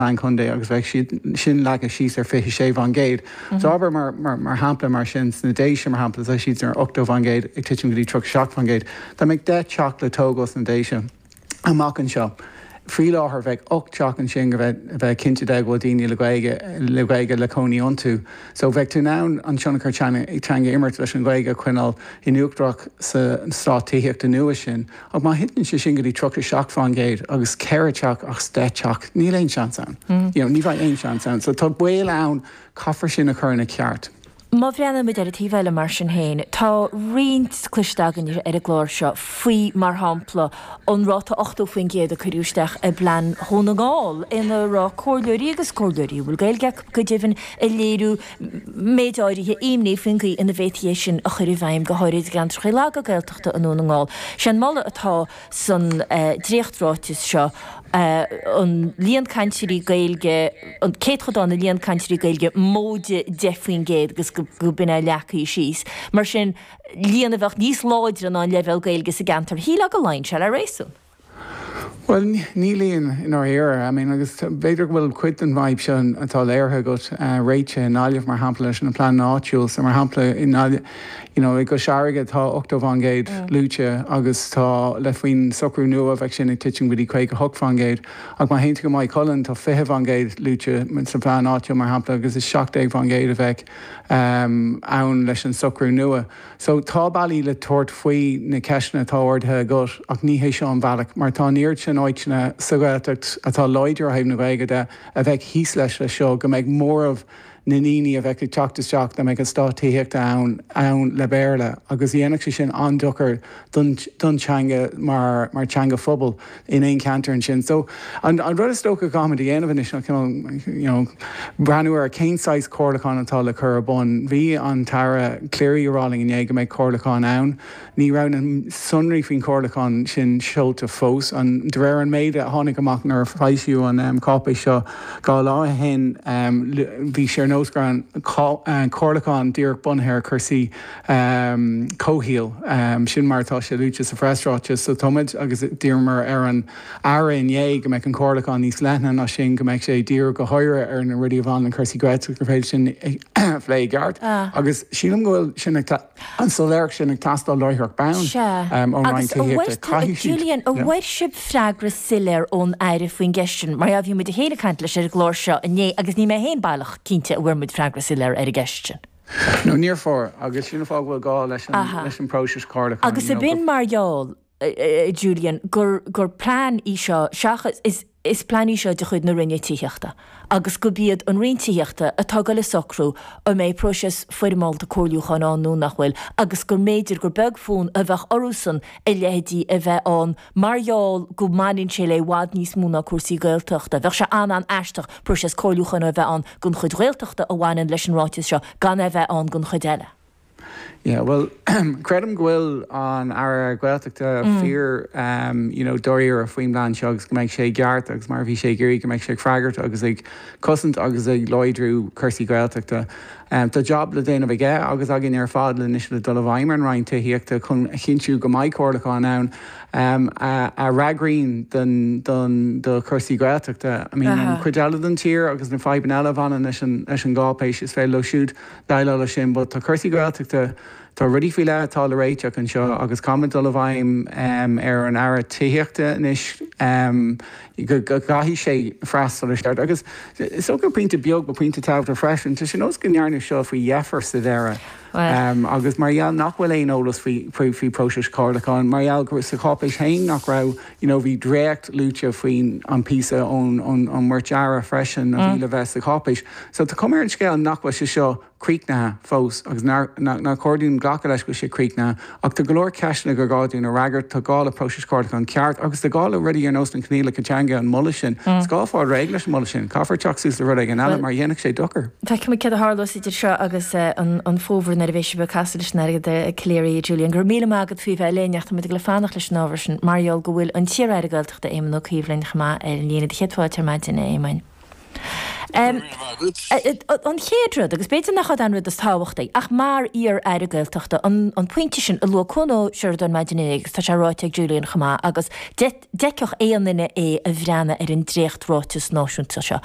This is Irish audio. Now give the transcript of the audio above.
Plean Contae agus bheadh siad sin leagtha síos ar 26%. So abair mar, mar, mar shampla mar sin sna Déise mar shampla tá siad ar 80% ag titim go dtí 37%. Dá mbeadh 10 teach le tógáil sna Déise amach anseo, faoi láthair bheadh 8 teach ansin go bheith, bheith cinnte de go bhfuil daoine le Gaeilge, le Gaeilge le cónaí iontu. So bheadh tú in ann an tionchar teanga a imirt leis an Ghaeilge a choinneáil in uachtarach sa eastát tithíochta nua sin. Ach má thiteann sé sin go dtí 37% agus 4 teach as 10 teach, níl aon seans ann. You know, ní bheidh aon seans ann. So tá baol ann, caithfear sin a chur ina ceart. Má bhreathnaímid ar an taobh eile mar sin féin, tá roinnt cloiste againn ar an gclár seo faoi, mar shampla, an ráta 80% a cuireadh isteach i bplean Dhún na nGall, ina raibh comhairleoirí agus comhairleoirí a bhfuil Gaeilge acu go deimhin ag léiriú méid áirithe imní faoin gcaoi ina bhféadfaí é sin a chur i bhfeidhm, go háirid i gceantracha laga Gaeltachta i nDún na nGall. Sé an moladh atá san dréachtráiteas seo an líon cainteoirí Gaeilge, an céatadán de líon cainteoirí Gaeilge móide 10% agus go b'in é leagtha síos. Mar sin, líon a bheadh níos láidre ná an leibhéal Gaeilge sa gceantar. Shílfeá go luíonn sé le réasún. Bhuel, ní luíonn i ndáiríre. I mean, agus b'fhéidir go bhfuil cuid den bhfadhb seo atá léirithe agat réitithe i nGaillimh, mar shampla, leis an bplean áitiúil. So, mar shampla, i nGaillimh, you know, i gCois Fharraige tá 80% luaite agus tá, le faoin socrú nua bheadh sin ag titim go dtí 58%. Ach má théann tú go Maigh Cuilinn, tá 20% luaite sa phlean áitiúil, mar shampla, agus is 17% a bheadh ann leis an socrú nua. So, tá bealaí le tabhairt faoi na ceisteanna atá ardaithe agat ach ní hé seo an bealach mar tá an oiread sin áiteanna sa Ghaeltacht atá láidir ó thaobh na Gaeilge de a bheadh thíos leis leis seo go mbeadh móramh na ndaoine a bheadh ag teacht isteach dá mbeadh eastát tithíochta ann ann le Béarla agus dhéanfadh sé sin an-dochar don don teanga mar mar teanga phobail in aon cheantar ansin. So, an rud is dócha go gcaithfimid a dhéanamh anois ná cineál, you know, breathnú ar cén saghas comhairliúchán atá le cur ar bun. Bhí an tAire Cleary ag rá linn inné go mbeidh comhairliúchán ann. Ní raibh na sonraí faoin chomhairliúchán sin seolta fós. An, de réir an méid a tháinig amach nuair a foilsíodh an cáipéis seo 2 lá ó shin, bhí sé ar nós go raibh an comhairliúchán díreach bunaithe ar chúrsaí comhshaoil. Sin mar atá sé luaite sa phreasráiteas. So tá muid, agus d'iarramar ar an Aire inné go mbeadh an comhairliúchán níos leithne ná sin, go mbeadh sé ag díriú go háirithe ar na rudaí a bhaineann le cúrsaí Gaeltachta, gur féidir sin a phlé i gceart. Agus sílim go bhfuil sin ag, an soiléireacht sin ag teastáil láithreach bonn ón Roinn Tithíochta. Caithfidh siad. Julian, an bhfuair sibh freagra soiléir ón Aire faoin gceist sin? Mar bhí muid féin ag caint leis ar an gclár seo inné agus níl mé féin baileach cinnte an bhfuair muid freagra soiléir ar an gceist sin. No, níor fuair, agus sin an fáth go bhfuil gá leis an, leis an bpróiseas comhairliúcháin. Agus ab in mar gheall, a Julian, gur, gur plean í seo seachas, is, is plean í seo de chuid na Roinne Tithíochta agus gurb iad an Roinn Tithíochta atá ag dul a socrú an mbeidh próiseas foirmeálta comhairliúcháin ann nó nach bhfuil agus gur mb'fhéidir gur beag fonn a bheadh orthusan a leithéidí a bheith ann mar gheall go mbaineann sé le i bhfad níos mó ná cúrsaí Gaeltachta. Bheadh sé an-an-aisteach próiseas comhairliúcháin a bheith ann don chuid Ghaeltachta a bhaineann leis an ráiteas seo gan é a bheith ann don chuid eile. Yeah, bhuel, creidim go bhfuil an Aire Gaeltachta fíor, you know, dáiríre faoin bplean seo agus go mbeidh sé i gceart agus mar a bhí sé ag iarraidh go mbeidh sé ag freagairt agus ag cosaint agus ag láidriú cúrsaí Gaeltachta. Tá jab le déanamh aige agus againn ar fad le anois le dul i bhfeidhm ar an Roinn Tithíochta chun a chinntiú go mbeidh comhairliúchán ann a fhreagraíonn don do chúrsaí Gaeltachta. I mean, an chuid eile den tír agus na fadhbanna eile a bhaineann leis an leis an gcáipéis, is féidir leo siúd déileáil leis sin, but tá cúrsaí Gaeltachta, tá rudaí faoi leith atá le réiteach anseo agus caithfimid dul i bhfeidhm ar an Aire Tithíochta anois go gcaithfidh sé freastal ar ceart. Agus is dócha pointe beag, but pointe tábhachtach freisin, tá sé nós go ndearnadh seo faoi dheifir sa deireadh agus mar gheall nach bhfuil aon eolas faoi faoi próiseas comhairliúcháin, mar gheall go sa cháipéis féin nach raibh, you know, bhí dréacht luaite faoin an píosa ón ón ón mbeirt Aire freisin a bhí le bheith sa cháipéis. So tá cuma ar an scéal nach bhfuil sé seo críochnaithe fós agus nár chóir dúinn glacadh leis go bhfuil sé críochnaithe ach tá go leor ceisteanna gur gá dúinn a fhreagairt, tá gá le próiseas comhairliúcháin ceart agus tá gá le rudaí ar nós na coinníollacha teanga, an moladh sin. Is gá fáil réidh leis an moladh sin. Caithfear teacht suas le rud éigin eile mar dhéanfadh sé dochar. Feicfimid céard a tharlós idir seo agus an fómhar nuair a bheidh sibh ag casadh leis an Aire Calleary, Julian. Go raibh míle maith agat faoi bheith linn ach tá muid ag dul a fanacht leis an ábhar sin mar gheall go bhfuil an t-iar-aire Gaeltachta Éamon Ó Cuív linn chomh maith ar an líne. Do chéad fáilte ar maidin, a Éamoin. An chéad rud, agus b'fhéidir nach é an rud is tábhachtaí, ach mar iar-aire Gaeltachta, an pointe sin a luaigh Cuan Ó Seireadáin maidin inné agus tá sé ráite ag Julian chomh maith, agus d'fheicfeadh aon duine é a bhreathnaigh ar an dréacht-ráiteas náisiúnta seo.